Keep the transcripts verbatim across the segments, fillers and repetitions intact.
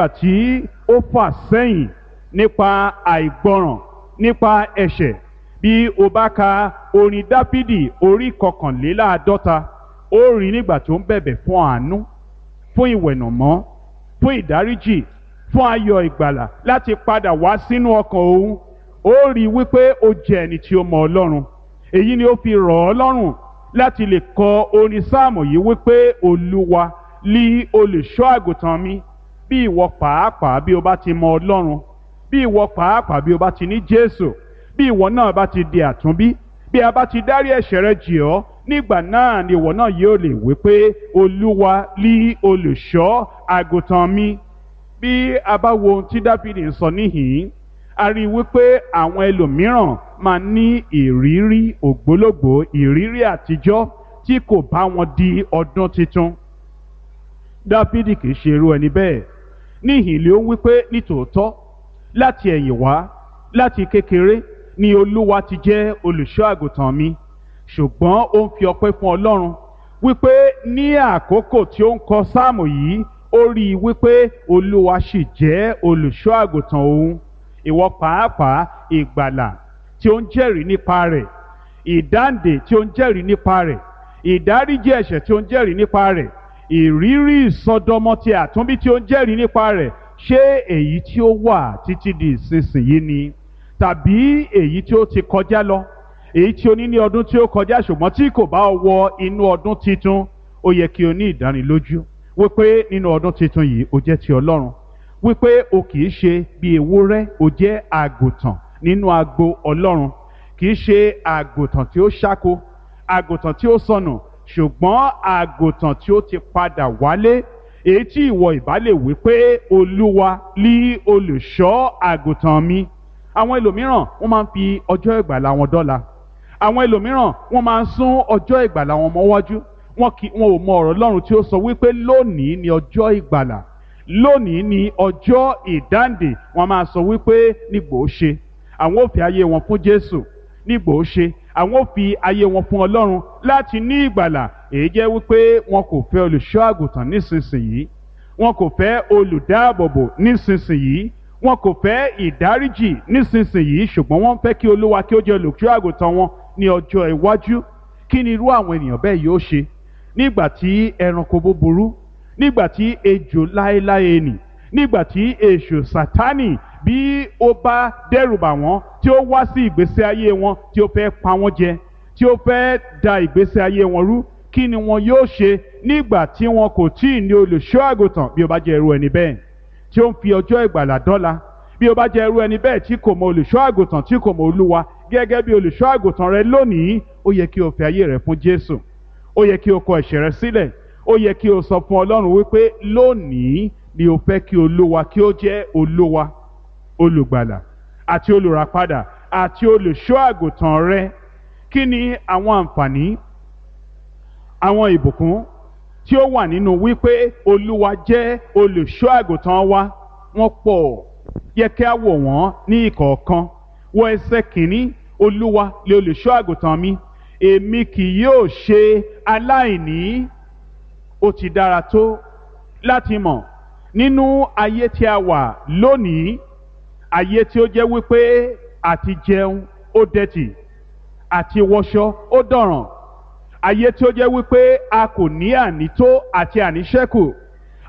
Tí ó fà sẹ́yìn nípa àìgbọràn, nípa ẹ̀ṣẹ̀. Bí o bá ka orin Dáfídì orí kọkànléláàádọ́ta, ó rí nígbà tó ń bẹ̀bẹ̀ fún àánú, fún ìwẹ̀nàmọ́, fún ìdáríjì, fún ayọ̀ ìgbàlà láti padà wá sínú ọkàn òun. Ó rí wípé ó jẹ́ ẹni tí ó mọ Ọlọ́run. Èyí ni ó fi rọ̀ ọ́ lọ́rùn láti lè kọ orin sáàmù yìí wípé Olúwa lí olùṣọ́ àgùntàn mi. Bí ìwọ pàápàá bí o bá ti mọ Ọlọ́run, bí ìwọ pàápàá bí o bá ti ní Jésù, bí ìwọ náà bá ti di àtúnbí, bí a bá ti dárí ẹ̀ṣẹ̀ rẹ jì ọ́, nígbà náà ni ìwọ náà yóò lè wí pé Olúwa lí olùṣọ́ àgùntàn mi. Bí a bá wo ohun tí Dáfídì ń sọ níhìn-ín, a rí i wípé àwọn ẹlòmíràn máa ní ìrírí ògbólógbòó, ìrírí àtijọ́ tí kò bá wọn di ọdún tuntun. Dáfídì kì í ṣe irú ẹni bẹ́ẹ̀. Níhìn ló ń wípé nítòótọ́ láti ẹ̀yìn wá, láti kékeré ni Olúwa ti jẹ́ olùṣọ́ àgùntàn mi, ṣùgbọ́n ó ń fi ọpẹ́ fún Ọlọ́run wípé ní àkókò tí ó ń kọ sáàmù yìí, ó rí i wípé Olúwa sì jẹ́ olùṣọ́ àgùntàn òun. Ìwọ pàápàá, ìgbàlà tí ó ń jẹ́rìí nípa rẹ̀, ìdáǹdè tí ó ń jẹ́rìí nípa rẹ̀, ìdáríjì ẹ̀ṣẹ̀ tí ó ń jẹ́rìí nípa rẹ̀, ìrírí ìsọdọmọ ti àtúnbí tí ó ń jẹ́rìí nípa rẹ̀, ṣé èyí tí ó wà títí di ìsinsìnyí ni, tàbí èyí tí ó ti kọjá lọ, èyí tí o ní ní ọdún tí ó kọjá ṣùgbọ́n tí kò bá ọ wọ inú ọdún titun? Ó yẹ kí o ní ìdánilójú wípé nínú ọdún titun yìí o jẹ́ ti Ọlọ́run, wípé o kì í ṣe bí ewúrẹ́, o jẹ́ àgùntàn nínú agbo Ọlọ́run. Kì í ṣe àgùntàn tí ó ṣáko, àgùntàn tí ó sọnù, ṣùgbọ́n àgùntàn tí ó ti padà wálé, èyí tí ìwọ ìbá lè wí pé Olúwa lí olùṣọ́ àgùntàn mi. Àwọn ẹlòmíràn wọ́n máa ń fi ọjọ́ ìgbàlà wọn dọ́là. Àwọn ẹlòmíràn wọ́n máa ń sún ọjọ́ ìgbàlà wọn mọ́wájú. Wọn kì wọn ò mọ ọ̀rọ̀ Ọlọ́run tí ó sọ wípé lónìí ni ọjọ́ ìgbàlà, lónìí ni ọjọ́ ìdáǹdè. Wọ́n máa sọ wípé nígbò ó ṣe àwọn ò fi ayé wọn fún Jésù, nígbò ó ṣe àwọn ò fi ayé wọn fún Ọlọ́run láti ní ìgbàlà. Èyí jẹ́ wípé wọn kò fẹ́ olùṣọ́ àgùntàn nísinsìnyí, wọn kò fẹ́ olùdáàbòbò nísinsìnyí, wọn kò fẹ́ ìdáríjì nísinsìnyí, ṣùgbọ́n wọ́n fẹ́ kí Olúwa kí ó jẹ́ olùṣọ́ àgùntàn wọn ní ọjọ́ iwájú. Kí ni irú àwọn ènìyàn bẹ́ẹ̀ yóò ṣe nígbà tí ẹranko búburú, nígbà tí ejò láéláé nì, nígbà tí èṣù Sátánì bí ó bá dẹ́rùbà wọ́n, tí ó wá sí ìgbésí ayé wọn, tí ó fẹ́ pa wọ́n jẹ, tí ó fẹ́ da ìgbésí ayé wọn rú? Kí ni wọn yóò ṣe nígbà tí wọn kò tí ì ní olùṣọ́ àgùntàn? Bí ó bá jẹ́ irú ẹni bẹ́ẹ̀ tí ó ń fi ọjọ́ ìgbàlà dọ́là, bí ó bá jẹ́ irú ẹni bẹ́ẹ̀ tí kò mọ olùṣọ́ àgùntàn, tí kò mọ Olúwa gẹ́gẹ́ bí olùṣọ́ àgùntàn rẹ lónìí, ó yẹ kí o fi ayé rẹ fún Jésù. Ó yẹ kí o kọ ẹ̀ṣẹ̀ rẹ sílẹ̀. Ó yẹ kí o sọ fún Ọlọ́run wípé lónìí ni o fẹ́ kí Olúwa kí ó jẹ́ Olúwa, olùgbàlà àti olùràpadà àti olùṣọ́ àgùntàn rẹ. Kí ni àwọn àǹfààní, àwọn ìbùkún tí ó wà nínú wípé Olúwa jẹ́ olùṣọ́ àgùntàn wa? Wọ́n pọ̀. Yẹ kí a wò wọ́n ní ìkọ̀ọ̀kan. Wọ ẹsẹ̀ kìíní: Olúwa lè olùṣọ́ àgùntàn mi, èmi kì yóò ṣe aláìní. Ó ti dára tó láti mọ̀ nínú ayé tí a wà lónìí, ayé tí ó jẹ́ wípé àti jẹun ó dẹ̀tì, àti wọṣọ ó dọ̀ràn, ayé tí ó jẹ́ wípé a kò ní ànító àti àníṣẹ́kù,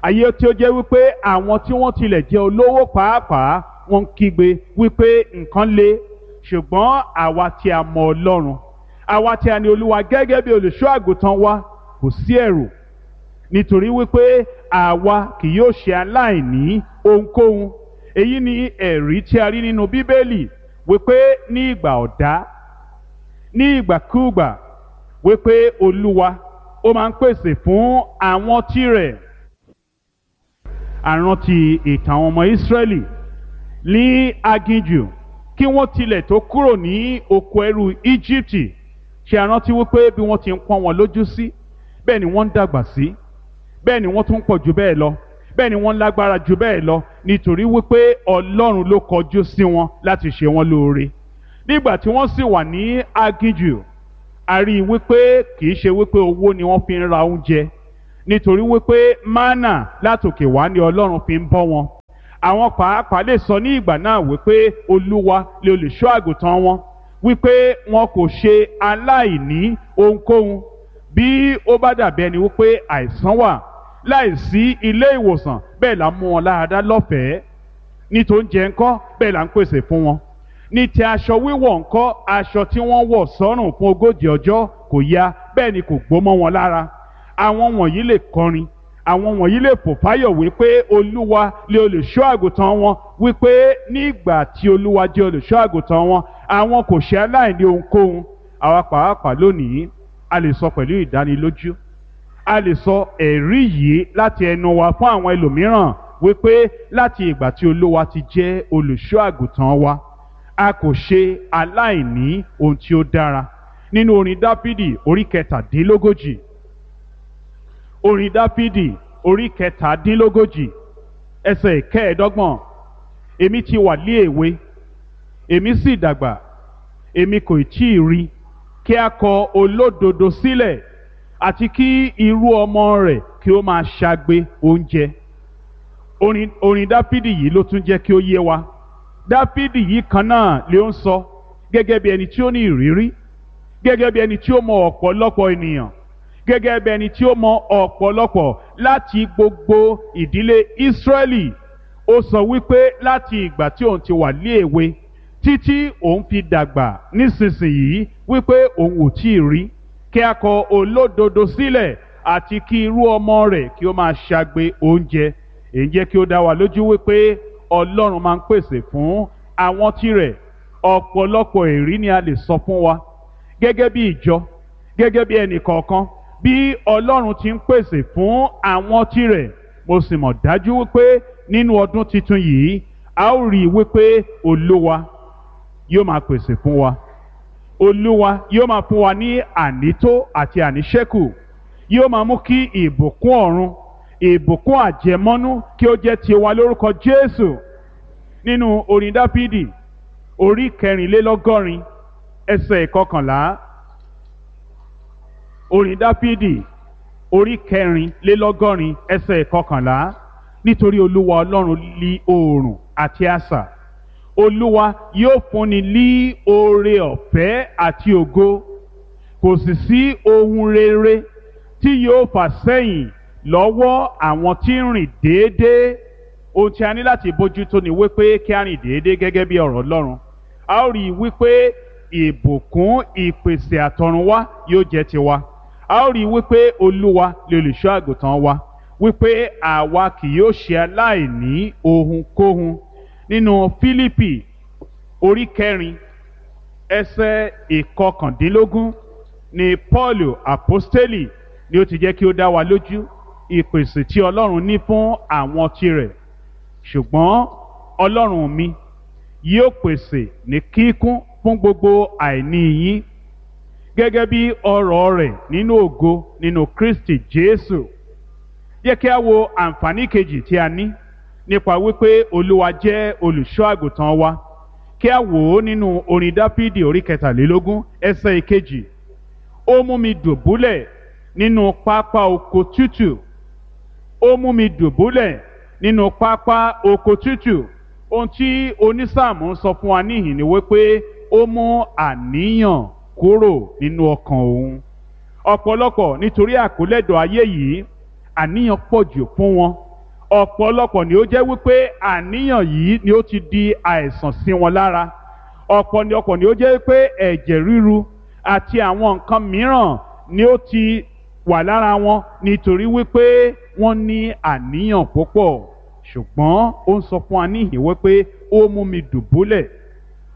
ayé tí ó jẹ́ wípé àwọn tí wọ́n tilẹ̀ jẹ́ olówó pàápàá wọ́n ń kígbe wípé nǹkan le. Ṣùgbọ́n àwa tí a mọ Ọlọ́run, àwa tí a ní Olúwa gẹ́gẹ́ bí olùṣọ́ àgùntàn wa, kò sí ẹ̀rù, nítorí wípé àwa kì yóò ṣe aláìní ohunkóhun. Èyí ni ẹ̀rí tí a rí nínú Bíbélì wípé ní ìgbà ọ̀dá, ní ìgbàkúùgbà, wípé Olúwa ó máa ń pèsè fún àwọn tirẹ̀. Àrántí ìtàn àwọn ọmọ Ísírẹ́lì ní aginjù kí wọ́n tilẹ̀ tó kúrò ní oko ẹrú Íjíbítì. Ṣe àrántí wípé bí wọ́n ti ń pọ́n wọn lójú sí, bẹ́ẹ̀ ni wọ́n ń dàgbà sí, bẹ́ẹ̀ ni wọ́n tún pọ̀ jù bẹ́ẹ̀ lọ, bẹ́ẹ̀ ni wọ́n lágbára jù bẹ́ẹ̀ lọ, nítorí wípé Ọlọ́run ló kọjú sí wọn láti ṣe wọn lóore. Nígbà tí wọ́n sì wà ní aginjù, a rí i wípé kì í ṣe wípé owó ni wọ́n fi ń ra oúnjẹ, nítorí wípé mánà látòkè wá ni Ọlọ́run fi ń bọ́ wọn. Àwọn pàápàá lè sọ ní ìgbà náà wípé Olúwa lè olùṣọ́ àgùntàn wọn, wípé wọn kò ṣe aláìní ohunkóhun. Bí ó bá dàbí ẹni wípé àìsàn wà láìsí ilé ìwòsàn, bẹ́ẹ̀ là ń mú wọn láradá lọ́fẹ̀ẹ́. Ní tó ń jẹ ńkọ́, bẹ́ẹ̀ là ń pèsè fún wọn. Ní ti aṣọ wíwọ̀ ńkọ́, aṣọ tí wọ́n wọ̀ sọ́rùn fún ogójì ọjọ́ kò ya, bẹ́ẹ̀ ni kò gbó mọ́ wọn lára. Àwọn wọ̀nyí lè kọrin, àwọn wọ̀nyí lè fò fáyọ̀ wípé Olúwa lè olùṣọ́ àgùntàn wọn, wípé nígbà tí Olúwa jẹ́ olùṣọ́ àgùntàn wọn, àwọn kò ṣe aláìní ohunkóhun. Àwa pàápàá lónìí a lè sọ pẹ̀lú ìdánilójú, a lè sọ ẹ̀rí yìí láti ẹnu wa fún àwọn ẹlòmíràn wípé láti ìgbà tí Olúwa ti jẹ́ olùṣọ́ àgùntàn wa, a kò ṣe aláìní ohun tí ó dára. Nínú orin Dáfídì orí kẹtàdínlógójì, orin Dáfídì orí kẹtàdínlógójì ẹsẹ̀ ìkẹẹ̀ẹ́dọ́gbọ̀n, èmi ti wà lé èwe, èmi sì dàgbà, èmi kò tí ì rí kí a kọ olódodo sílẹ̀, àti kí irú ọmọ rẹ̀ kí ó máa ṣagbe oúnjẹ. Orin, orin Dáfídì yìí ló tún jẹ́ kí ó yé wa. Dáfídì yìí kan náà ló ń sọ gẹ́gẹ́ bí ẹni tí ó ní ìrírí, gẹ́gẹ́ bí ẹni tí ó mọ ọ̀pọ̀lọpọ̀ ènìyàn, gẹ́gẹ́ bí ẹni tí ó mọ ọ̀pọ̀lọpọ̀ láti gbogbo ìdílé Ísírẹ́lì. Ó sọ wípé láti ìgbà tí òun ti wà ní èwe títí òun fi dàgbà nísinsìnyí, wípé òun ò tí ì rí kí a kọ olódodo sílẹ̀, àti kí irú ọmọ rẹ̀ kí ó máa ṣagbe oúnjẹ. Èyí jẹ́ kí ó dá wa lójú wípé Ọlọ́run máa ń pèsè fún àwọn tirẹ̀. Ọ̀pọ̀lọpọ̀ èrí ni a lè sọ fún wa gẹ́gẹ́ bí ìjọ, gẹ́gẹ́ bí ẹnì kọ̀ọ̀kan, bí Ọlọ́run ti ń pèsè fún àwọn tirẹ̀. Mo sì mọ̀ dájú wípé nínú ọdún tuntun yìí, a ó rí i wípé Olúwa yóò máa pèsè fún wa. Olúwa yóò máa fún wa ní ànító àti àníṣẹ́kù. Yóò máa mú kí ìbùkún ọ̀run, ìbùkún àjẹmọ́nú kí ó jẹ́ tiwa lórúkọ Jésù. Nínú orin Dáfídì orí kẹrìnlélọ́gọ́rin ẹsẹ̀ ìkọkànlá, orin Dáfídì orí kẹrìnlélọ́gọ́rin ẹsẹ̀ ìkọkànlá, nítorí Olúwa Ọlọ́run lí oòrùn àti asà, Olúwa yóò fúnni lí oore ọ̀fẹ́ àti ògo, kò sì sí ohun rere tí yóò fà sẹ́yìn lọ́wọ́ àwọn tí ń rìn déédéé. Ohun tí a ní láti bójútó ni wípé kí a rìn déédéé gẹ́gẹ́ bí ọ̀rọ̀ Ọlọ́run. A ó rí i wípé ìbùkún ìpèsè àtọ̀runwá yóò jẹ́ tiwa. A ó rí i wípé Olúwa lè olùṣọ́ àgùntàn wa, wípé àwa kì yóò ṣe aláìní ohunkóhun. Nínú Fílípì orí kẹrin ẹsẹ̀ ìkọkàndínlógún ni Pọ́ọ̀lù àpọ́stélì ni ó ti jẹ́ kí ó dá wa lójú ìpèsè tí Ọlọ́run ní fún àwọn tirẹ̀. Ṣùgbọ́n Ọlọ́run mi yóò pèsè ní kíkún fún gbogbo àìní yín gẹ́gẹ́ bí ọrọ̀ rẹ̀ nínú ògo nínú Kristi Jésù. Yẹ kí a wo àǹfààní kejì tí a ní nípa wípé Olúwa jẹ́ olùṣọ́ àgùntàn wa. Kí a wò ó nínú orin Dáfídì orí kẹtàlélógún ẹsẹ̀ ìkejì. Ó mú mi dùbúlẹ̀ nínú pápá oko tútù. Ó mú mi dùbúlẹ̀ nínú pápá oko tútù. Ohun tí onísáàmù ń sọ fún wa níhìn ni wípé ó mú àníyàn kúrò nínú ọkàn òun. Ọ̀pọ̀lọpọ̀ nítorí àkólẹ́dọ̀ ayé yìí, àníyàn pọ̀ jù fún wọn. Ọ̀pọ̀lọpọ̀ ni ó jẹ́ wípé àníyàn yìí ni ó ti di àìsàn sí wọn lára. Ọ̀pọ̀lọpọ̀ ni ó jẹ́ wípé ẹ̀jẹ̀ ríru àti àwọn nǹkan mìíràn ni ó ti wà lára wọn nítorí wípé wọ́n ní àníyàn púpọ̀. Ṣùgbọ́n ó ń sọ fún wa níhìn wípé ó mú mi dùbúlẹ̀,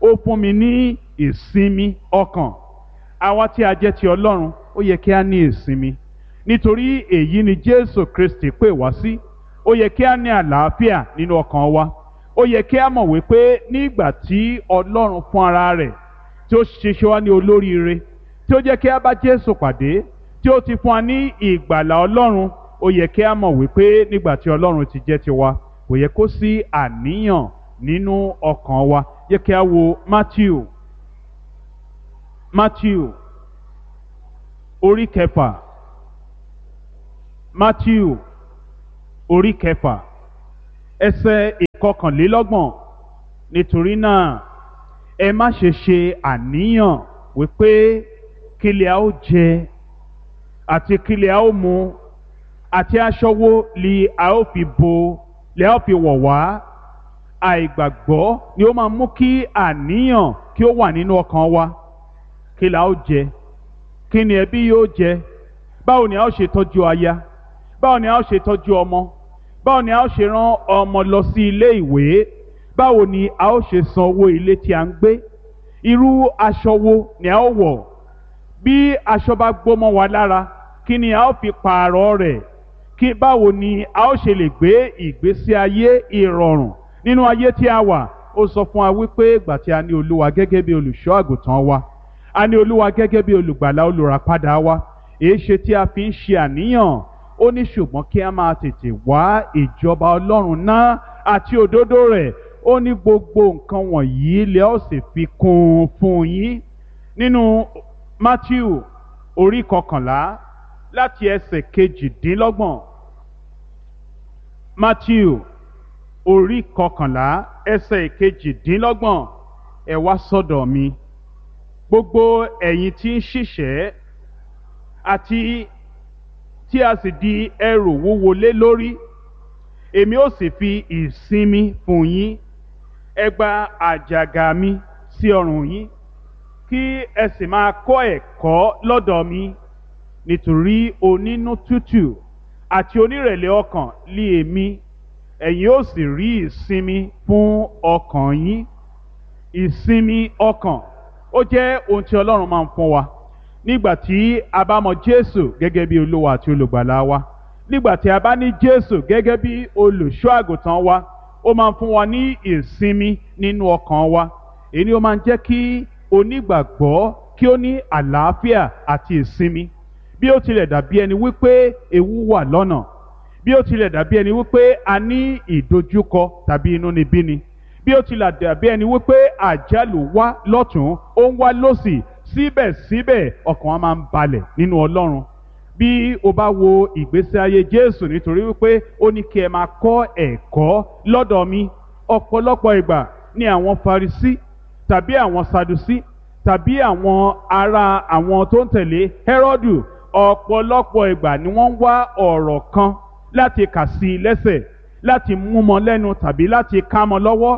ó fún mi ní ìsinmi ọkàn. Àwa tí a jẹ́ ti Ọlọ́run, ó yẹ kí a ní ìsinmi, nítorí èyí ni Jésù Kristi pè wá sí. Ó yẹ kí a ní àlàáfíà nínú ọkàn wa. Ó yẹ kí a mọ̀ wípé nígbà tí Ọlọ́run fún ara rẹ̀ tí ó ṣiṣẹ́ wá ní olóríire, tí ó jẹ́ kí a bá Jésù pàdé, tí ó ti fún wa ní ìgbàlà Ọlọ́run, ó yẹ kí a mọ̀ wípé nígbà tí Ọlọ́run ti jẹ́ tiwa, kò yẹ kó sí àníyàn nínú ọkàn wa. Yẹ kí a wo Matthew, Matthew orí kẹfà, Matthew orí kẹfà ẹsẹ̀ ìkọkànlélọ́gbọ̀n. Nítorí náà ẹ má ṣe ṣe àníyàn wípé kí lè a ó jẹ àti kí lè a ó mu àti aṣọ wo li a ó fi bo lè a ó fi wọ̀ wá. Àìgbàgbọ́ ni ó máa mú kí àníyàn kí ó wà nínú ọkàn wa. Kí la ó jẹ? Kí ni ẹbí yóò jẹ? Báwo ni a ó ṣe tọ́jú aya? Báwo ni a ó ṣe tọ́jú ọmọ? Báwo ni a ó ṣe rán ọmọ lọ sí ilé ìwé? Báwo ni a ó ṣe san owó ilé tí a ń gbé? Irú aṣọ wo ni a ó wọ̀? Bí aṣọ bá gbó mọ́ wa lára, kí ni a ó fi pààrọ̀ rẹ̀? Kí báwo ni a ó ṣe lè gbé ìgbésí ayé ìrọ̀rùn nínú ayé tí a wà? Ó sọ fún wa wípé ìgbà tí a ní Olúwa gẹ́gẹ́ bí olùṣọ́ àgùntàn wa, a ní Olúwa gẹ́gẹ́ bí olùgbàlà olùràpadà wa, èéṣe tí a fi ń ṣe àníyàn? Ó ní ṣùgbọ́n kí a máa tètè wá ìjọba Ọlọ́run náà àti òdodo rẹ̀. Ó ní gbogbo nǹkan wọ̀nyí lẹ ó sì fi kún un fún yín. Nínú Mátíù orí kọkànlá láti ẹsẹ̀ kejìdínlọ́gbọ̀n. Mátíù orí kọkànlá ẹsẹ̀ kejìdínlọ́gbọ̀n. Ẹ wá sọ́dọ̀ mi, gbogbo ẹ̀yin tí ń ṣiṣẹ́ àti tí a sì di ẹrù wúwo lé lórí, èmi ó sì fi ìsinmi fún yín. Ẹ gba àjàgà mi sí ọrùn yín, kí ẹ sì máa kọ́ ẹ̀kọ́ lọ́dọ̀ mi, nítorí onínú tútù àti onírẹ̀lẹ̀ ọkàn lé èmi, ẹ̀yin ó sì rí ìsinmi fún ọkàn yín. Ìsinmi ọkàn ó jẹ́ ohun tí Ọlọ́run máa ń fún wa nígbà tí a bá mọ Jésù gẹ́gẹ́ bí Olúwa àti olùgbàlà wa, nígbà tí a bá ní Jésù gẹ́gẹ́ bí olùṣọ́ àgùntàn wa. Ó máa ń fún wa ní ìsinmi nínú ọkàn wa. Èyí ni ó máa ń jẹ́ kí onígbàgbọ́ kí ó ní àlàáfíà àti ìsinmi. Bí ó tilẹ̀ dàbí ẹni wípé ewu wà lọ́nà, bí ó tilẹ̀ dàbí ẹni wípé a ní ìdojúkọ tàbí inúnibíni, bí ó tilẹ̀ dàbí ẹni wípé àjálù wá lọ́tún ó ń wá lọ́sì, síbẹ̀síbẹ̀ ọkàn wa máa ń balẹ̀ nínú Ọlọ́run. Bí o bá wo ìgbésí ayé Jésù, nítorí wípé ó ní kí ẹ máa kọ́ ẹ̀kọ́ lọ́dọ̀ mi. Ọ̀pọ̀lọpọ̀ ìgbà ni àwọn Farisí tàbí àwọn Sadusí tàbí àwọn ará àwọn tó ń tẹ̀lé Hẹ́rọ́dù, ọ̀pọ̀lọpọ̀ ìgbà ni wọ́n ń wá ọ̀rọ̀ kan láti kà sí i lẹ́sẹ̀, láti mú mọ́ lẹ́nu tàbí láti ká mọ́ lọ́wọ́,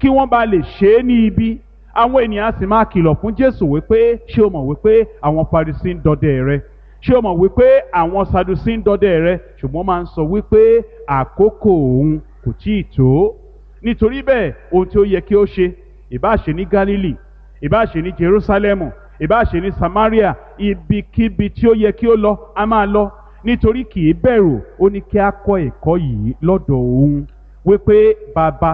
kí wọ́n bá lè ṣe é ní ibi. Àwọn ènìyàn sì máa kìlọ̀ fún Jésù wípé, ṣé o mọ̀ wípé àwọn Farisí ń dọdẹ rẹ? Ṣé o mọ̀ wípé àwọn Sadusí ń dọdẹ rẹ? Ṣùgbọ́n máa ń sọ wípé àkókò òun kò tíì tó. Nítorí bẹ́ẹ̀, ohun tí ó yẹ kí ó ṣe, ìbá ṣe ní Gálílì, ìbá ṣe ní Jerúsálẹ́mù, ìbá ṣe ní Samaria, ibikíbi tí ó yẹ kí ó lọ, a máa lọ, nítorí kì í bẹ̀rù. Ó ní kí a kọ́ ẹ̀kọ́ yìí lọ́dọ̀ òun wípé bàbá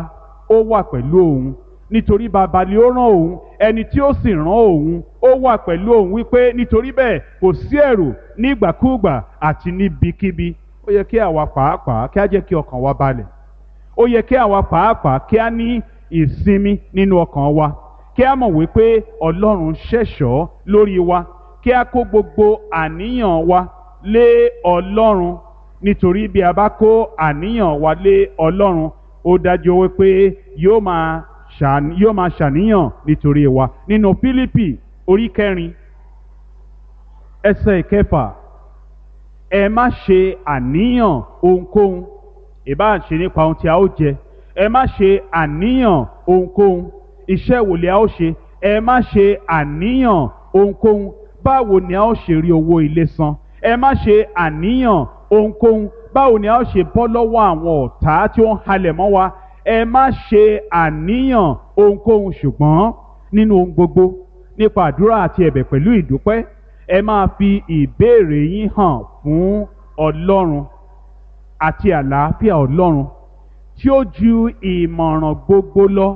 ó wà pẹ̀lú òun, nítorí bàbá ni ó rán òun, ẹni tí ó sì rán òun ó wà pẹ̀lú òun, wípé nítorí bẹ́ẹ̀ kò sí ẹ̀rù nígbàkúùgbà àti níbikíbi. Ó yẹ kí àwa pàápàá kí a jẹ́ kí ọkàn wa balẹ̀. Ó yẹ kí àwa pàápàá kí a ní ìsinmi nínú ọkàn wa, kí a mọ̀ wípé Ọlọ́run ṣẹ̀ṣọ́ lórí wa, kí a kó gbogbo àníyàn wa lé Ọlọ́run, nítorí bí a bá kó àníyàn wa lé Ọlọ́run, ó dájú wípé yóò máa yóò máa ṣàníyàn nítorí wa. Nínú Fílípì orí kẹrin ẹsẹ̀ ìkẹfà, ẹ má ṣe àníyàn ohunkóhun, ìbá ṣe nípa ohun tí a ó jẹ, ẹ má ṣe àníyàn ohunkóhun, iṣẹ́ wo ni a ó ṣe, ẹ má ṣe àníyàn ohunkóhun, báwo ni a ó ṣe rí owó ilé san, ẹ má ṣe àníyàn ohunkóhun, báwo ni a ó ṣe bọ́ lọ́wọ́ àwọn ọ̀tá tí ó ń halẹ̀ mọ́ wa, ẹ má ṣe àníyàn ohunkóhun, ṣùgbọ́n nínú ohun gbogbo nípa àdúrà àti ẹ̀bẹ̀ pẹ̀lú ìdúpẹ́, ẹ máa fi ìbéèrè yín hàn fún Ọlọ́run, àti àlàáfíà Ọlọ́run tí ó ju ìmọ̀ràn gbogbo lọ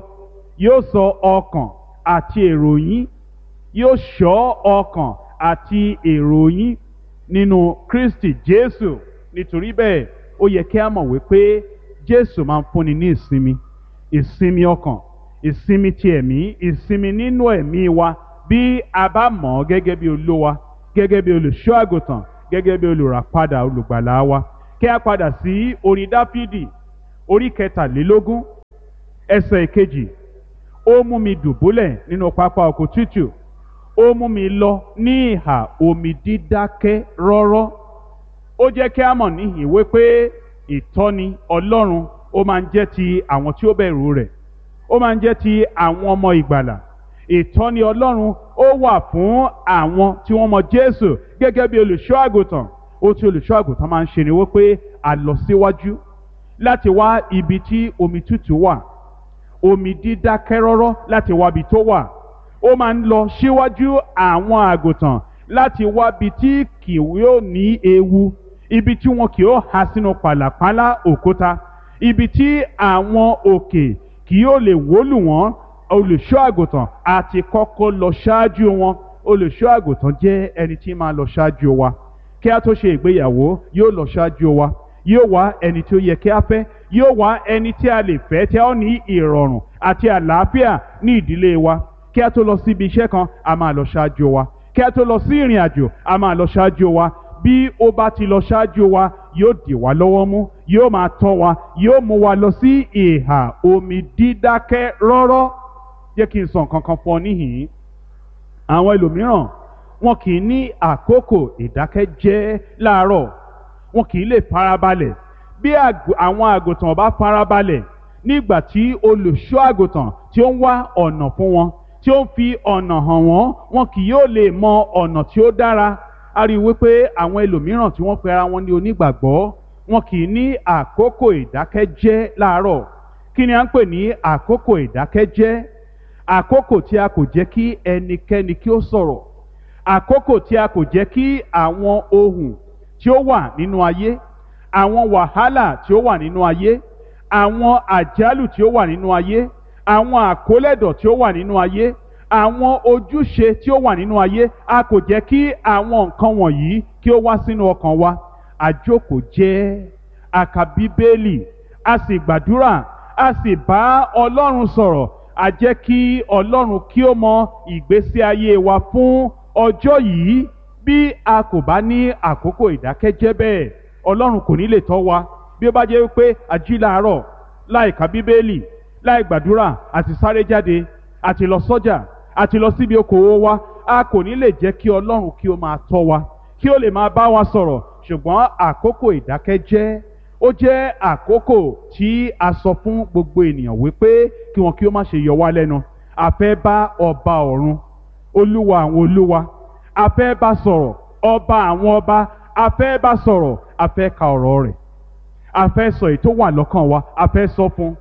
yóò sọ ọkàn àti èrò yín, yóò ṣọ́ ọkàn àti èrò yín nínú Kristi Jésù. Nítorí bẹ́ẹ̀, ó yẹ kí a mọ̀ wípé Jésù máa ń fúnni ní ìsinmi, ìsinmi ọkàn, ìsinmi ti ẹ̀mí, ìsinmi nínú ẹ̀mí wa, bí a bá mọ̀ ọ́ gẹ́gẹ́ bí Olúwa, gẹ́gẹ́ bí olùṣọ́ àgùntàn, gẹ́gẹ́ bí olùràpadà olùgbàlà wa. Kí a padà sí orin Dáfídì orí kẹtàlélógún ẹsẹ̀ ìkejì, ó mú mi dùbúlẹ̀ nínú pápá oko tútù, ó mú mi lọ ní ìhà omi dídákẹ́ rọ́rọ́. Ó jẹ́ kí a mọ̀ níhìn wípé ìtọ́ni Ọlọ́run ó máa ń jẹ́ ti àwọn tí ó bẹ̀rù rẹ̀, ó máa ń jẹ́ ti àwọn ọmọ ìgbàlà. Ìtọ́ni Ọlọ́run ó wà fún àwọn tí wọ́n mọ Jésù gẹ́gẹ́ bí olùṣọ́ àgùntàn. Ó tí olùṣọ́ àgùntàn máa ń ṣe ni wípé a lọ síwájú láti wá ibi tí omi tútù wà, omi dídákẹ́ rọ́rọ́ láti wá ibi tó wà. Ó máa ń lọ síwájú àwọn àgùntàn láti wá ibi tí kì yóò ní ewu, ibi tí wọn kì yóò há sínú pàlàpálá òkúta, ibi tí àwọn òkè kì yóò lè wólù wọ́n. Olùṣọ́ àgùntàn àti kọ́kọ́ lọ ṣáájú wọn. Olùṣọ́ àgùntàn jẹ́ ẹni tí máa lọ ṣáájú wa. Kí a tó ṣe ìgbéyàwó, yóò lọ ṣáájú wa, yóò wá ẹni tí ó yẹ kí a fẹ́, yóò wá ẹni tí a lè fẹ́ tí a ó ní ìrọ̀rùn àti àlàáfíà ní ìdílé wa. Kí a tó lọ síbi iṣẹ́ kan, a máa lọ ṣáájú wa. Kí a tó lọ sí ìrìn àjò, a máa lọ ṣáájú wa. Bí ó bá ti lọ ṣáájú wa, yóò dì wá lọ́wọ́ mú, yóò máa tọ́ wa, yóò mú wa lọ sí ìhà omi dídákẹ́ rọ́rọ́. Jẹ́ kí n sọ nǹkan kan fún ọ níhìn-ín. Àwọn ẹlòmíràn wọn kì í ní àkókò ìdákẹ́jẹ́ láàárọ̀, wọn kì í lè farabalẹ̀. Bí àwọn àgùntàn bá farabalẹ̀ nígbà tí olùṣọ́ àgùntàn tí ó ń wá ọ̀nà fún wọn, tí ó ń fi ọ̀nà hàn wọ́n, wọn kì yóò lè mọ ọ̀nà tí ó dára. A rí i wípé àwọn ẹlòmíràn tí wọ́n pe ara wọn ní onígbàgbọ́, wọn kì í ní àkókò ìdákẹ́jẹ́ láàárọ̀. Kí ni à ń pè ní àkókò ìdákẹ́jẹ́? Àkókò tí a kò jẹ́ kí ẹnikẹ́ni kí ó sọ̀rọ̀, àkókò tí a kò jẹ́ kí àwọn ohùn tí ó wà nínú ayé, àwọn wàhálà tí ó wà nínú ayé, àwọn àjálù tí ó wà nínú ayé, àwọn àkólẹ̀dọ̀ tí ó wà nínú ayé, àwọn ojúṣe tí ó wà nínú ayé, a kò jẹ́ kí àwọn nǹkan wọ̀nyí kí ó wá sínú ọkàn wa. Àjókòó jẹ́, a kà Bíbélì, a sì gbàdúrà, a sì bá Ọlọ́run sọ̀rọ̀. A jẹ́ kí Ọlọ́run kí ó mọ ìgbésí ayé wa fún ọjọ́ yìí. Bí a kò bá ní àkókò ìdákẹ́jẹ́ bẹ́ẹ̀, Ọlọ́run kò ní lè tọ́ wa. Bí ó bá jẹ́ wípé a jí láàárọ̀ láì ka Bíbélì, láì gbàdúrà, àti sáré jáde, àti lọ sọ́jà, àti lọ síbi okòwò wa, a kò ní lè jẹ́ kí Ọlọ́run kí ó máa tọ́ wa, kí ó lè máa bá wa sọ̀rọ̀. Ṣùgbọ́n àkókò ìdákẹ́jẹ́ ó jẹ́ àkókò tí a sọ fún gbogbo ènìyàn wípé kí wọn kí ó má ṣe yọ wá lẹ́nu. A fẹ́ bá ọba ọ̀run, olúwa àwọn olúwa, a fẹ́ bá sọ̀rọ̀, ọba àwọn ọba, a fẹ́ bá sọ̀rọ̀, a fẹ́ ka ọ̀rọ̀ rẹ̀, a fẹ́ sọ èyí tó wà lọ́kàn wa, a fẹ́ sọ fún.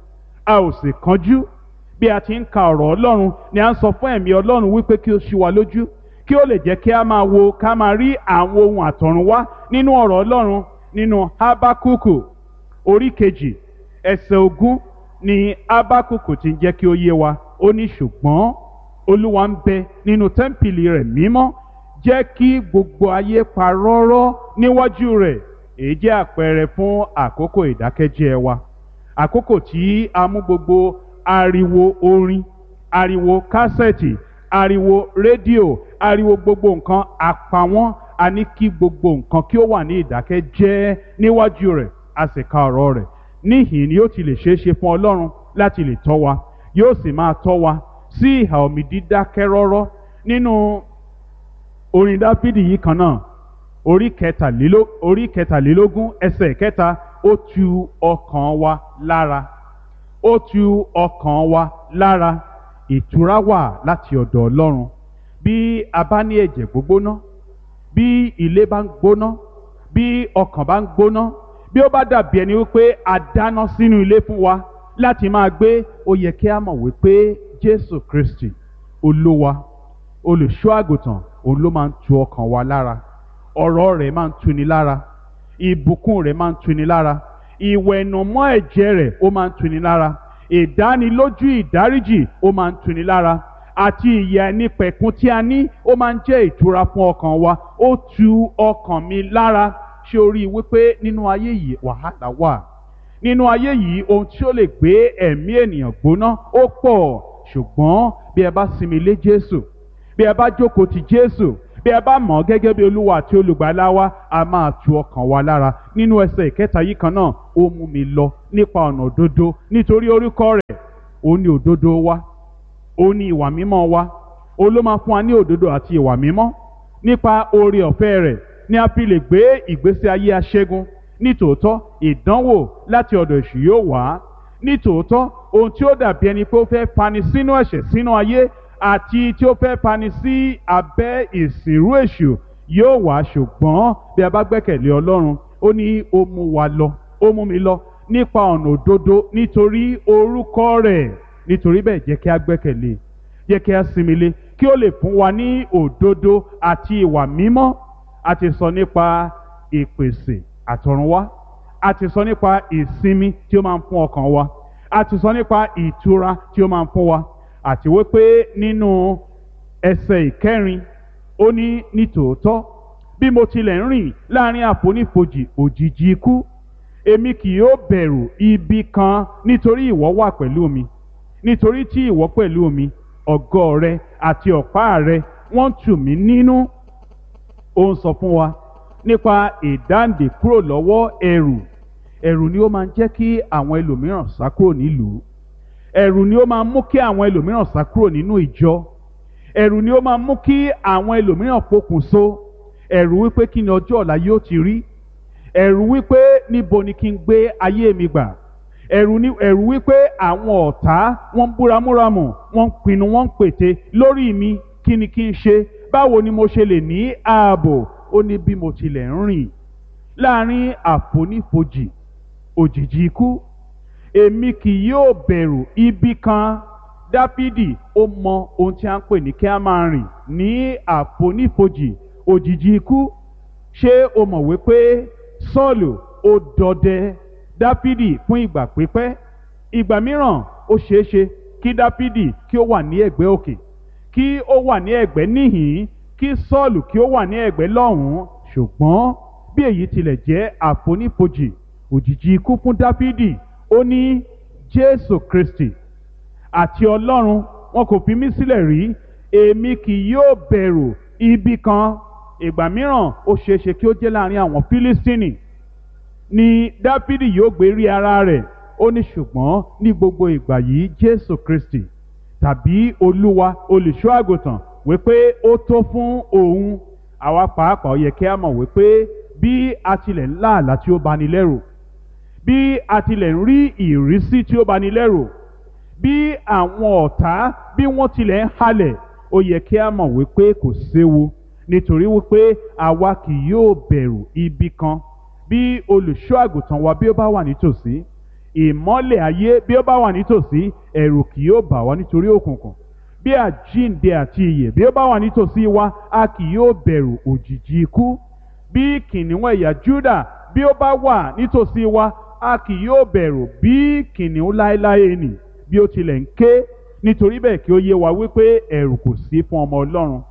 A ò sì kánjú. Bí a ti ń ka ọ̀rọ̀ Ọlọ́run ni a ń sọ fún ẹ̀mí Ọlọ́run wípé kí ó ṣí wa lójú, kí ó lè jẹ́ kí a máa wo, ká máa rí àwọn ohun àtọ̀run wá nínú ọ̀rọ̀ Ọlọ́run. Nínú Hábákúkù orí kejì ẹsẹ̀ ogún ni Hábákúkù ti ń jẹ́ kí ó yé wa. Ó ní, ṣùgbọ́n Olúwa ń bẹ nínú tẹ́ḿpìlì rẹ̀ mímọ́, jẹ́ kí gbogbo ayé pa rọ́rọ́ níwájú rẹ̀. Èyí jẹ́ àpẹẹrẹ fún àkókò ìdákẹ́jẹ́ wa, àkókò tí a mú gbogbo ariwo orin, ariwo kásẹ̀tì, ariwo rédíò, ariwo gbogbo nǹkan, a pa wọ́n. A ní kí gbogbo nǹkan kí ó wà ní ìdákẹ́jẹ́ níwájú rẹ̀, a sì ka ọ̀rọ̀ rẹ̀. Níhìn ni yóò ti lè ṣeé ṣe fún Ọlọ́run láti lè tọ́ wa, yóò sì máa tọ́ wa sí ìhà omi dídákẹ́ rọ́rọ́. Nínú orin Dáfídì yìí kan náà, orí kẹtàléló- orí kẹtàlélógún ẹsẹ̀ kẹta, ó tu ọkàn wa lára, ó tu ọkàn wa lára. Ìtura wà láti ọ̀dọ̀ Ọlọ́run. Bí a bá ní ẹ̀jẹ̀ gbógbóná, bí ilé bá ń gbóná, bí ọkàn bá ń gbóná, bí ó bá dàbí ẹni wípé a dáná sínú ilé fún wa láti máa gbé, ó yẹ kí a mọ̀ wípé Jésù Kristi Olúwa, olùṣọ́ àgùntàn, òun ló máa ń tu ọkàn wa lára. Ọ̀rọ̀ rẹ̀ máa ń tuni lára, ìbùkún rẹ̀ máa ń tuni lára, ìwẹ̀nùmọ́ ẹ̀jẹ̀ rẹ̀ ó máa ń tuni lára, ìdánilójú ìdáríjì ó máa ń tuni lára, àti ìyè àìnípẹ̀kun tí a ní ó máa ń jẹ́ ìtura fún ọkàn wa. Ó tu ọkàn mi lára. Ṣé o rí i wípé nínú ayé yìí wàhálà wà? Nínú ayé yìí ohun tí ó lè gbé ẹ̀mí ènìyàn gbóná ó pọ̀. Ṣùgbọ́n bí ẹ bá sinmi lé Jésù, bí ẹ bá jókòó ti Jésù, Bí a bá mọ̀ ọ́ gẹ́gẹ́ bí Olúwa àti Olùgbàlà wa, a máa tu ọkàn wa lára. Nínú ẹsẹ̀ ìkẹta yìí kan náà, ó mú mi lọ nípa ọ̀nà òdodo nítorí orúkọ rẹ̀. Ó ní òdodo wa, ó ní ìwà mímọ́ wa, ó ló máa fún wa ní òdodo àti ìwà mímọ́. Nípa oore ọ̀fẹ́ rẹ̀ ni a fi lè gbé ìgbésí ayé aṣẹ́gun. Nítòótọ́ ìdánwò láti ọ̀dọ̀ èṣù yóò wá. Nítòótọ́ ohun tí ó dàbí ẹni pé ó fẹ́ fani sínú ẹ̀ṣẹ̀, sínú ayé, àti tí ó fẹ́ fani sí abẹ́ ìsìnrú èṣù yóò wá. Ṣùgbọ́n bí a bá gbẹ́kẹ̀lé Ọlọ́run, ó ní ó mú wa lọ, ó mú mi lọ nípa ọ̀nà òdodo nítorí orúkọ rẹ̀. Nítorí bẹ́ẹ̀ jẹ́ kí a gbẹ́kẹ̀lé, jẹ́ kí a sinmi lé, kí ó lè fún wa ní òdodo àti ìwà mímọ́. A ti sọ nípa ìpèsè àtọ̀runwá, a ti sọ nípa ìsinmi tí ó máa ń fún ọkàn wa, a ti sọ nípa ìtura tí ó máa ń fún wa, àti wípé nínú ẹsẹ̀ ìkẹrin ó ní nítòótọ́ bí mo tilẹ̀ ń rìn láàrin àfonífojì òjìji ikú, èmi kì yóò bẹ̀rù ibi kan nítorí ìwọ wà pẹ̀lú mi. Nítorí tí ìwọ pẹ̀lú mi, ọ̀gọ́ rẹ àti ọ̀pá rẹ wọ́n tù mí nínú. Ó ń sọ fún wa nípa ìdáǹdè kúrò lọ́wọ́ ẹ̀rù. Ẹ̀rù ni ó máa ń jẹ́ kí àwọn ẹlòmíràn sá kúrò nílùú. Ẹ̀rù ni ó máa ń mú kí àwọn ẹlòmíràn sá kúrò nínú ìjọ. Ẹ̀rù ni ó máa ń mú kí àwọn ẹlòmíràn pokùnso. Ẹ̀rù wípé kí ni ọjọ́ ọ̀la yóò ti rí. Ẹ̀rù wípé níbo ni kí n gbé ayé mi gbà. Ẹ̀rù ni ẹ̀rù wípé àwọn ọ̀tá wọ́n ń búramúramù, wọ́n ń pinnu, wọ́n ń pète lórí mi. Kí ni kí n ṣe? Báwo ni mo ṣe lè ní ààbò? Ó ní bí mo tilẹ̀ ń rìn láàrin àfonífojì òjìji ikú, èmi kì yóò bẹ̀rù ibi kan. Dáfídì ó mọ ohun tí a ń pè ní kí a máa rìn ní àfonífojì òjìji ikú. Ṣé o mọ̀ wípé Sọ́ọ̀lù ó dọdẹ Dáfídì fún ìgbà pípẹ́? Ìgbà mìíràn ó ṣeéṣe kí Dáfídì kí ó wà ní ẹ̀gbẹ́ òkè, kí ó wà ní ẹ̀gbẹ́ níhìn-ín, kí Sọ́ọ̀lù kí ó wà ní ẹ̀gbẹ́ lọ́hùn-ún. Ṣùgbọ́n bí èyí tilẹ̀ jẹ́ àfonífojì òjìji ikú fún Dáfídì, ó ní Jésù Kristi àti Ọlọ́run wọn kò fi mí sílẹ̀ rí, èmi kì yóò bẹ̀rù ibi kan. Ìgbà mìíràn ó ṣeéṣe kí ó jẹ́ láàrin àwọn Fílístínì ni Dáfídì yóò gbé rí ara rẹ̀. Ó ní ṣùgbọ́n ní gbogbo ìgbà yìí Jésù Kristi tàbí Olúwa olùṣọ́ àgùntàn wípé ó tó fún òun. Àwa pàápàá ó yẹ kí a mọ̀ wípé bí a tilẹ̀ ń lá àlá tí ó bani lẹ́rù, bí a tilẹ̀ ń rí ìrísí tí ó bani lẹ́rù, bí àwọn ọ̀tá bí wọ́n tilẹ̀ ń halẹ̀, ó yẹ kí a mọ̀ wípé kò séwu, nítorí wípé àwa kì yóò bẹ̀rù ibi kan. Bí olùṣọ́ àgùntàn wa bí ó bá wà nítòsí, ìmọ́lẹ̀ ayé bí ó bá wà nítòsí, ẹ̀rù kì yóò bà wá nítorí òkùnkùn. Bí àjíǹde àti ìyè bí ó bá wà nítòsí wa, a kì yóò bẹ̀rù òjìji ikú. Bí kìnìún ẹ̀yà Júdà bí ó bá wà nítòsí wa, a kì yóò bẹ̀rù bí kìnìún láéláé nì bí ó tilẹ̀ ń ké. Nítorí bẹ́ẹ̀ kí ó yé wa wípé ẹ̀rù kò sí fún ọmọ Ọlọ́run.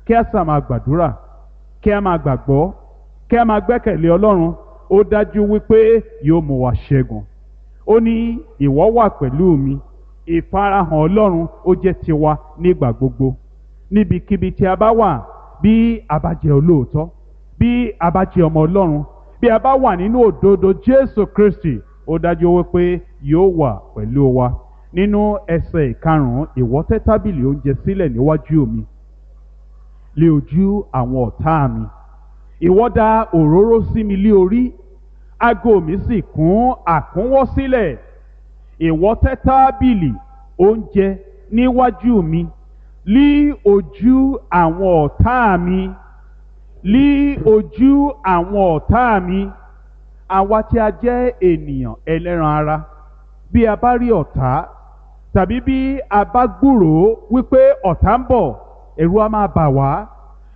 Kí a sà máa gbàdúrà, kí a máa gbàgbọ́, kí a máa gbẹ́kẹ̀lé Ọlọ́run. Ó dájú wípé yóò mú wa ṣẹ́gun. Ó ní ìwọ wà pẹ̀lú mi. Ìfarahàn Ọlọ́run ó jẹ́ tiwa nígbà gbogbo. Níbikíbi tí a bá wà, bí a bá jẹ́ olóòótọ́, bí a bá jẹ́ ọmọ Ọlọ́run, bí a bá wà nínú òdodo Jésù Kristi, ó dájú wípé yóò wà pẹ̀lú wa. Nínú ẹsẹ̀ ìkarùn-ún, ìwọ tẹ́ tábìlì oúnjẹ sílẹ̀ níwájú mi lé ojú àwọn ọ̀tá mi. Ìwọ dà òróró sí mi lé orí, ago mi sì kún àkúnwọ́ sílẹ̀. Ìwọ tẹ́ tábìlì oúnjẹ níwájú mi lí ojú àwọn ọ̀tá mi, lí ojú àwọn ọ̀tá mi. Àwa tí a jẹ́ ènìyàn ẹlẹ́ran ara, bí a bá rí ọ̀tá tàbí bí a bá gbúròó wípé ọ̀tá ń bọ̀, ẹ̀rù á máa bà wá,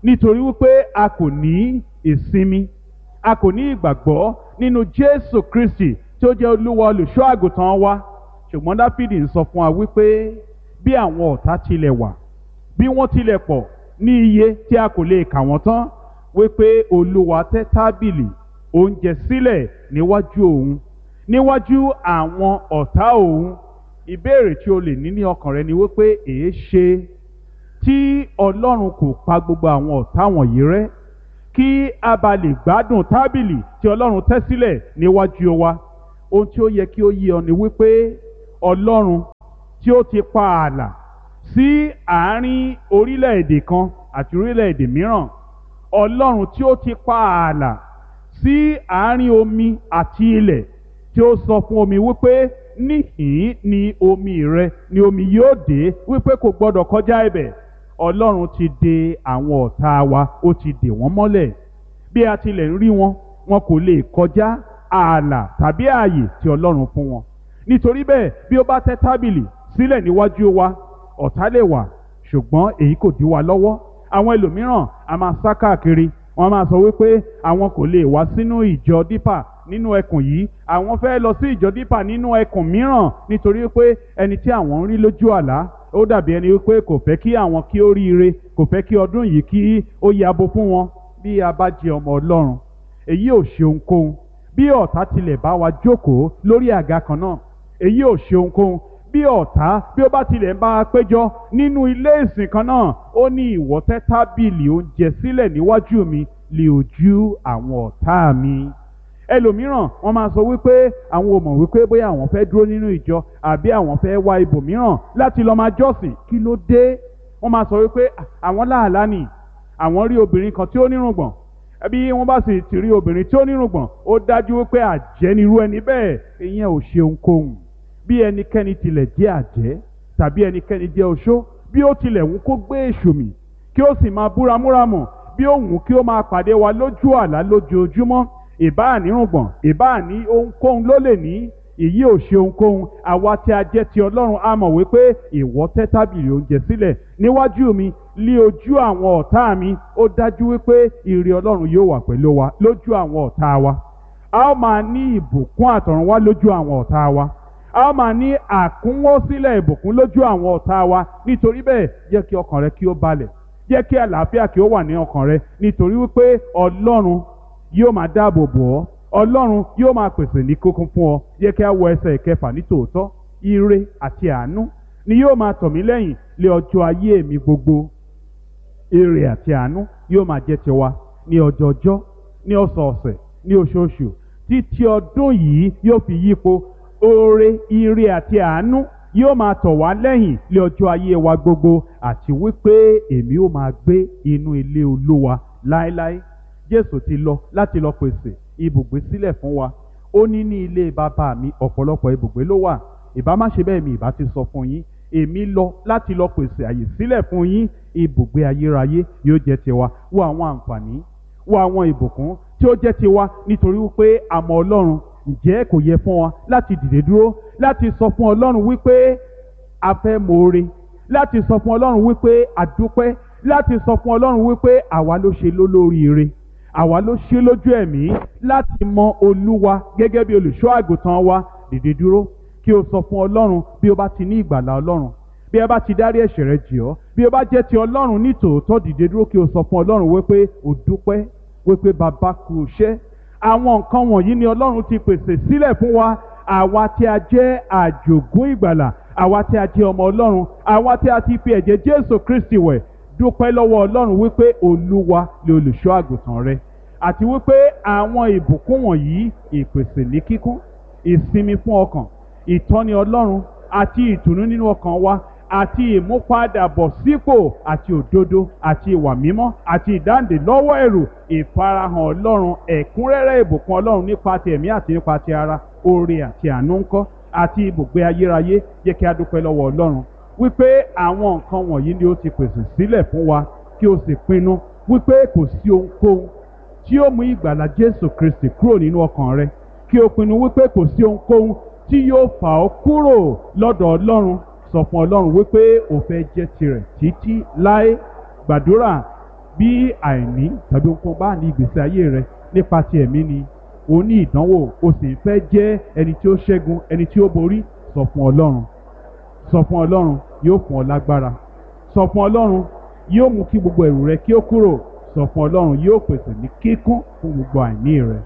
nítorí wípé a kò ní ìsinmi, a kò ní ìgbàgbọ́ nínú Jésù Kristi tí ó jẹ́ Olúwa olùṣọ́ àgùntàn wa. Ṣùgbọ́n Dáfídì ń sọ fún wa wípé bí àwọn ọ̀tá tilẹ̀ wà, bí wọ́n tilẹ̀ pọ̀ ní iye tí a kò lè kà wọ́n tán, wípé Olúwa tẹ́ tábìlì oúnjẹ sílẹ̀ níwájú òun, níwájú àwọn ọ̀tá òun. Ìbéèrè tí o lè ní ní ọkàn rẹ ni wípé èé ṣe Tí Ọlọ́run kò pa gbogbo àwọn ọ̀tá wọ̀nyí rẹ́ kí a bá lè gbádùn tábìlì tí Ọlọ́run tẹ́ sílẹ̀ níwájú wa. Ohun tí ó yẹ kí ó yé ọ ni wípé Ọlọ́run tí ó ti pa ààlà sí àárín orílẹ̀-èdè kan àti orílẹ̀-èdè mìíràn, Ọlọ́run tí ó ti pa ààlà sí àárín omi àti ilẹ̀, tí ó sọ fún omi wípé níhìn ni omi rẹ ni omi yóò dé, wípé kò gbọdọ̀ kọjá ibẹ̀. Ọlọ́run ti de àwọn ọ̀tá wa, ó ti dè wọ́n mọ́lẹ̀. Bí a tilẹ̀ ń rí wọn, wọn kò lè kọjá ààlà tàbí ààyè tí Ọlọ́run fún wọn. Nítorí bẹ́ẹ̀, bí ó bá tẹ́ tábìlì sílẹ̀ níwájú wa, ọ̀tá lè wà, ṣùgbọ́n èyí kò dí wa lọ́wọ́. Àwọn ẹlòmíràn a máa sá káàkiri, wọ́n máa sọ wípé àwọn kò lè wá sínú ìjọ Dípà nínú ẹkùn yìí, àwọn fẹ́ lọ sí ìjọ Dípà nínú ẹkùn mìíràn, nítorí pé ẹni tí àwọn ń rí lójú àlá ó dàbí ẹni wípé kò fẹ́ kí àwọn kí ó ríire, kò fẹ́ kí ọdún yìí kí ó yabo fún wọn. Bí a bá jẹ ọmọ Ọlọ́run, èyí ò ṣe ohunkóhun. Bí ọ̀tá tilẹ̀ bá wa jókòó lórí àga kan náà, èyí ò ṣe ohunkóhun. Bí ọ̀tá bí ó bá tilẹ̀ ń bá a péjọ nínú ilé ìsìn kan náà, ó ní ìwọ tẹ́ tábìlì oúnjẹ sílẹ̀ níwájú mi lé ojú àwọn ọ̀tá mi. Ẹlòmíràn wọ́n máa sọ wípé àwọn ò mọ̀ wípé bóyá àwọn fẹ́ dúró nínú ìjọ àbí àwọn fẹ́ wá ibòmíràn láti lọ máa jọ́sìn. Kí ló dé? Wọ́n máa sọ wípé àwọn láàlá nì, àwọn rí obìnrin kan tí ó nírùngbọ̀n. Bí wọ́n bá sì ti rí obìnrin tí ó nírùngbọ̀n, ó dájú wípé àjẹ́ nirú ẹni bẹ́ẹ̀. Ìyẹn ò ṣe ohunkóhun. Bí ẹnikẹ́ni tilẹ̀ jẹ́ àjẹ́ tàbí ẹnikẹ́ni jẹ́ oṣó, bí ó tilẹ̀ wù kó gbé èṣù mì kí ó sì máa búramúramù, bí ó wù kí ó máa pàdé wa lójú àlá lójoojúmọ́, ìbáà nírùngbọ̀n, ìbáà ní ohunkóhun ló lè ní, èyí ò ṣe ohunkóhun. Àwa tí a jẹ́ ti Ọlọ́run a mọ̀ wípé ìwọ tẹ́ tábìlì oúnjẹ sílẹ̀ níwájú mi lí ojú àwọn ọ̀tá mi. Ó dájú wípé ire Ọlọ́run yóò wà pẹ̀lú wa lójú àwọn ọ̀tá wa. A ó máa ní ìbùkún àtọ̀run wá lójú àwọn ọ̀tá wa. A ó máa ní àkúnwọ́sílẹ̀ ìbùkún lójú àwọn ọ̀tá wa. Nítorí bẹ́ẹ̀, jẹ́ kí ọkàn rẹ kí ó balẹ̀, jẹ́ kí àlàáfíà kí ó wà ní ọkàn rẹ, nítorí wípé Ọlọ́run yóò máa dáàbò bò ọ́, Ọlọ́run yóò máa pèsè ní kókún fún ọ. Yẹ kí a wọ ẹsẹ̀ ìkẹfà ní tòótọ́. Ire àti àánú ni yóò máa tọ̀ mí lẹ́yìn lé ọjọ́ ayé mi gbogbo. Ire àti àánú yóò máa jẹ́ tiwa ní ọjọọjọ́, ní ọ̀sọ̀ọ̀sẹ̀, ní oṣooṣù, títí ọdún yìí yóò fi yípo. Oore, ire àti àánú yóò máa tọ̀ wá lẹ́yìn lé ọjọ́ ayé wa gbogbo, àti wípé èmi ó máa gbé inú ilé Olúwa láéláé. Jésù ti lọ láti lọ pèsè ibùgbé sílẹ̀ fún wa. Ó ní ní ilé bàbá mi ọ̀pọ̀lọpọ̀ ibùgbé ló wà. Ìbá má ṣe bẹ́ẹ̀ mi ìbá ti sọ fún yín. Èmi lọ láti lọ pèsè àyè sílẹ̀ fún yín. Ibùgbé ayérayé yóò jẹ́ tiwa. Wo àwọn àǹfààní, wo àwọn ìbùkún tí ó jẹ́ tiwa nítorí wípé a mọ Ọlọ́run. Ǹjẹ́ kò yẹ fún wa láti dìde dúró láti sọ fún Ọlọ́run wípé a fẹ́ moore, láti sọ fún Ọlọ́run wípé a dúpẹ́, láti sọ fún Ọlọ́run wípé àwa ló ṣe lólóríire, àwa ló ṣe lójú ẹ̀mí láti mọ Olúwa gẹ́gẹ́ bí olùṣọ́ àgùntàn wa. Dìde dúró kí o sọ fún Ọlọ́run bí o bá ti ní ìgbàlà Ọlọ́run, bí ẹ bá ti dárí ẹ̀ṣẹ̀ rẹ jì ọ́, bí o bá jẹ́ ti Ọlọ́run ní tòótọ́. Dìde dúró kí o sọ fún Ọlọ́run wípé o dúpẹ́, wípé bàbá kú iṣẹ́. Àwọn nǹkan wọ̀nyí ni Ọlọ́run ti pèsè sílẹ̀ fún wa, àwa tí a jẹ́ àjògún ìgbàlà, àwa tí a jẹ́ ọmọ Ọlọ́run, àwa tí a ti fi ẹ̀jẹ̀ Jésù Kristi wẹ̀. Dúpẹ́ lọ́wọ́ Ọlọ́run wípé Olúwa ni olùṣọ́ àgùntàn rẹ, àti wípé àwọn ìbùkún wọ̀nyí, ìpèsè ní kíkún, ìsinmi fún ọkàn, ìtọ́ni Ọlọ́run àti ìtùnú nínú ọkàn wa, àti ìmúpadàbọ̀sípò àti òdodo àti ìwà mímọ́ àti ìdáǹdè lọ́wọ́ ẹ̀rù, ìfarahàn Ọlọ́run, ẹ̀kúnrẹ́rẹ́ ìbùkún Ọlọ́run nípa ti ẹ̀mí àti nípa ti ara, oore àti àánú ńkọ́, àti ibùgbé ayérayé. Jẹ́ kí a dúpẹ́ lọ́wọ́ Ọlọ́run wípé àwọn nǹkan wọ̀nyí ni ó ti pèsè sílẹ̀ fún wa, kí o sì pinnu wípé kò sí ohunkóhun tí ó mú ìgbàlà Jésù Kristi kúrò nínú ọkàn rẹ, kí o pinnu wípé kò sí ohunkóhun tí yóò fà ọ́ kúrò lọ́dọ̀ Ọlọ́run. Sọ fún Ọlọ́run wípé o fẹ́ jẹ́ tirẹ̀ títí láé. Gbàdúrà bí àìní tàbí ohunkóhun bá ní ìgbésí ayé rẹ nípa ti ẹ̀mí ni o ní ìdánwò, o sì ń fẹ́ jẹ́ ẹni tí ó ṣẹ́gun, ẹni tí ó borí. Sọ fún Ọlọ́run, sọ fún Ọlọ́run, yóò fún ọ lágbára. Sọ fún Ọlọ́run, yóò mú kí gbogbo ẹ̀rù rẹ kí ó kúrò. Sọ fún Ọlọ́run, yóò pèsè ní kíkún fún gbogbo àìní rẹ.